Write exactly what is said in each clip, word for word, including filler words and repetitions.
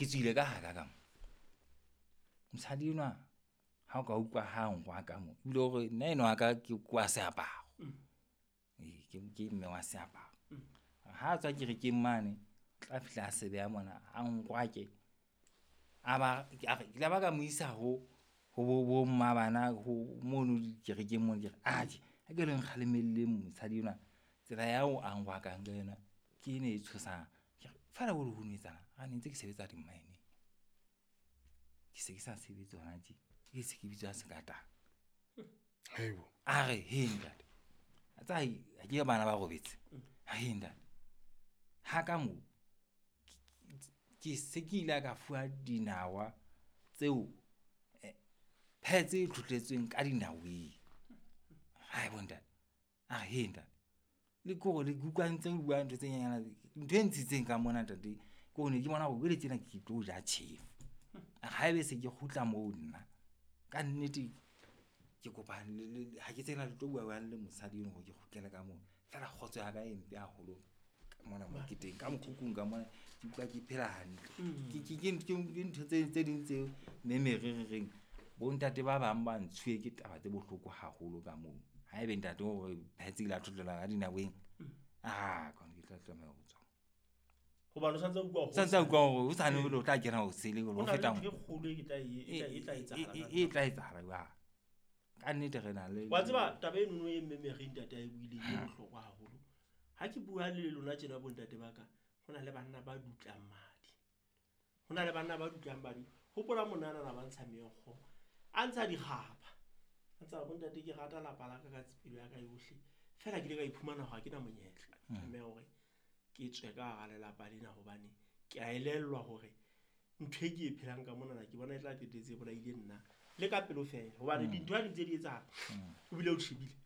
Ke tswile ka haka ka mo. Mosadi enwa ha o ka utlwa ha nkwa ka mo, ebile hore nna enwa wa ka ke kwa seaparo. Ee, ke ke mme wa seaparo. Ha tswa kerekeng mane, tla fihla a se beha mona a nkwake. A ba a re ke la ba ka mo isa ho ho bo bo mmabana ho mono dikerekeng mono. Ke re atjhe ha ke le nkgalemelleng mosadi enwa tsela ya ho a ngwakang ka yona ke ena e tshosang. Ke re feela ho no etsahalang? A ne ntse ke sebetsa dimmaeneng. Ke se ke sa sebetse hona tje, ke se ke bitswa sekatana. Haibo. A re he ntate, a tseba akere bana ba robetse. He ntate, ha ka mo ke se ke ile ka fuwa dinawa tseo pads e tlhotletsweng ka dinaweng. Haibo ntate, a re he ntate. Le kore le ke utlwa ntse o bua ntho tse nyenyana ntho e ntshitseng ka mona ntate ke hore ne ke bona hore jwale tjena ke tlo ja tjhefu. Haebe se ke kgutla moo nna kannete ke kopa le ha ke tsebe na le tlo bua jwang le mosadi eno hore ke kgutlele ka moo. Feela kgotso ya ka e mpe haholo ka mona mo ke teng. Ka mokhukhung ka mona ke utlwa ke phela hantle. Ke ke ke ke ntho tse tse ding tseo mme re re reng bontate ba bang ba ntshuwe ke taba tse bohloko haholo ka moo. Haebe ntate o re pads ile a thothela ka dinaweng, ah ke tla tlameha ho tswa. Hobane o santse o utlwa hore Santse a utlwa hore hosane o tla kena ho sele ho ho na le feta ntho e kgolo e tla e tla e tla etsahala. e tla etsahala jwang. Ka nnete re na le Wa tseba taba eno e mme Mary ntate a e buileng e bohlokwa haholo. Ha ke bua le lona tjena bontate ba ka, ho na le banna ba dutlang madi. Ho na le banna ba dutlang madi. Hopola monana na ba ntsha meokgo, a ntsha dikgapha. A ntsa bontate ke rata lapa la ka ka pelo ya ka yohle. Feela ke ile ka iphumana hore ha ke na monyetla. Ke tlameha hore ke tswe ka hara lelapa lena hobane ke a elellwa hore ntho e ke e phelang ka monana ke bona e tla qetetse e bolaile nna le ka pelo feela. Hobane dintho ha di ntse di etsahala, o bile o tjhebile.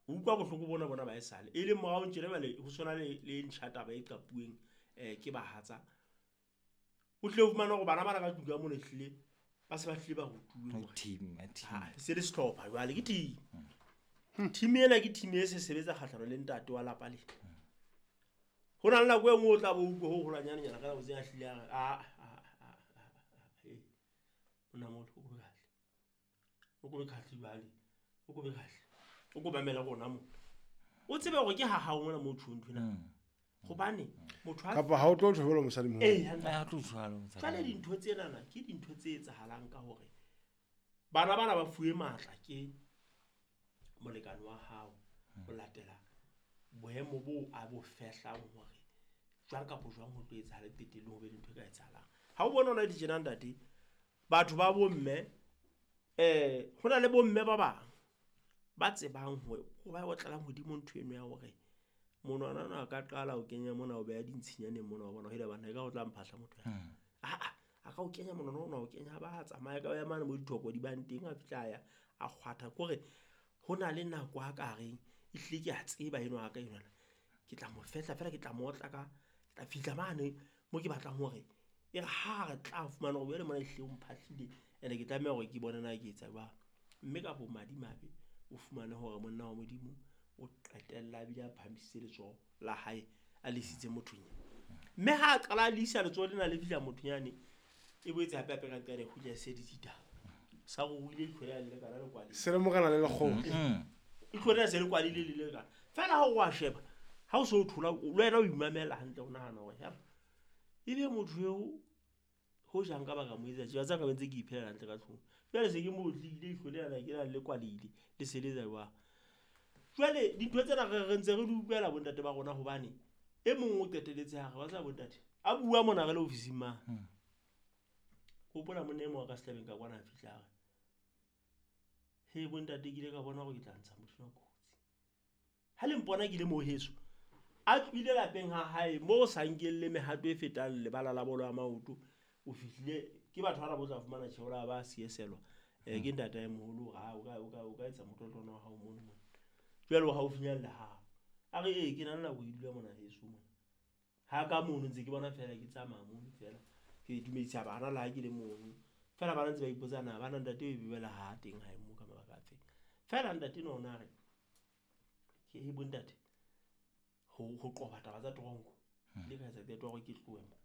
O utlwa bohloko bona bona ba esale. E leng morao tjena jwale ho tshwana le le ntjha taba e qapuweng eh ke bahatsa. O tlile ho fumana hore bana bana ka tlung ka mona ehlile ba se ba hlile ba rutuwe hore team, ya team. Ha, se le sehlopha jwale ke team. Team ena ke team e se sebetsa kgahlano le ntate wa lapa lena. Ho na le nako e nngwe o tla bo utlwe ho holwanyanenyana ka nako tse a hlile a re, a, a, a, a, a, e, monna moholo, o ko be kahle. O ko be kahle jwale. O ko be kahle. O ko mamele rona mona. O tsebe hore ke ha hao mona moo tjhong nthwena. Hobane motho ha Kapa ha o tlo tjho mosadi moholo. Eh, hantle. Ha o tlo tjho mosadi. Jwale dintho tsenana ke dintho tse etsahalang ka hore bana bana ba fuwe matla ke molekane wa hao ho latela boemo bo a bo fehlang hore jwang kapa jwang ho tlo etsahala qetellong ho be le ntho e ka etsahalang. Ha o bona hona di tjena ntate, batho ba bomme, eh, ho na le bomme ba bang ba tsebang hore ho ba otlelang hodimo ntho eno ya hore monwana ona a ka qala ho kenya mona o beha dintshinyaneng mona wa bona ho ile bana e ka o tla mphahla motho ya. Ah, ah, a ka o kenya monwana ona o kenya ba tsamaya ka ya mane mo dithoko di bang teng a fihla ya a kgwatha kore ho na le nako a ka reng e hlile ke a tseba eno a ka enwana ke tla mo fehla feela ke tla mo otla ka ke tla fihla mane mo ke batlang hore e re ha re tla fumana hore jwale mona e hlile o mphahlile ene ke tlameha hore ke bone na ke etsa jwang. Mme ka bomadimabe o fumane hore monna wa Modimo o qetella a bile a phahamisitse letsoho la hae a le isitse mothong eo. Mme ha a qala a le isa letsoho lena le fihla mothong yane, e boetse hape hape ka nqane kgutla e se ditaba. Sa ruile leihlo le le kana le kwalile. Se le morena le lekgolo. Mm. Leihlo lena se le kwalile le le kana. Feela ha o wa sheba, ha o so o thola, le wena o imamela hantle o nahana hore ya, ebe motho eo ho jang ka baka mo etsa tje, wa tseba nka be ntse ke iphelela hantle ka tlung. Jwale se ke mo otlile, leihlo lena la ke la le kwalile, le se le etsa jwang. Jwale dintho tsena re, re ntse re di utlwela bontate ba rona hobane e mong o qetelletse ha re, wa tseba bontate, a bua mona re le ofising mane. Hmm. Hopola monna e mong a ka sehlabeng ka kwana a fihla a re, he bontate ke ile ka bona hore ke tla ntsha motho enwa kotsi. Ha le mpona ke le moo heso, a tlohile lapeng ha hae moo sa nkelle mehato e fetang lebala la bolo ya maoto, o fihlile ke batho ba ba tla fumana tjheho la ba sieselwa. Eh, ke ntate e moholo hore ha o ka, o ka, o ka etsa motlotlo wa hao mono mona. Jwale o haufinyane le hao. A re, ee, ke na le nako e dula mona heso mona. Ha ka mono ntse ke bona feela ke tsamaya mono feela. Ke dumedisa bana le ha ke le mono. Feela bana ntse ba ipotsa na bana ntate e bebela ha teng ha e mo ka mabaka a feng. Feela ntate no ona re, ke he bontate, ho, ho qoba taba tsa toronko. Hmm. Le ka etsa qeto ya hore ke tlohe mo.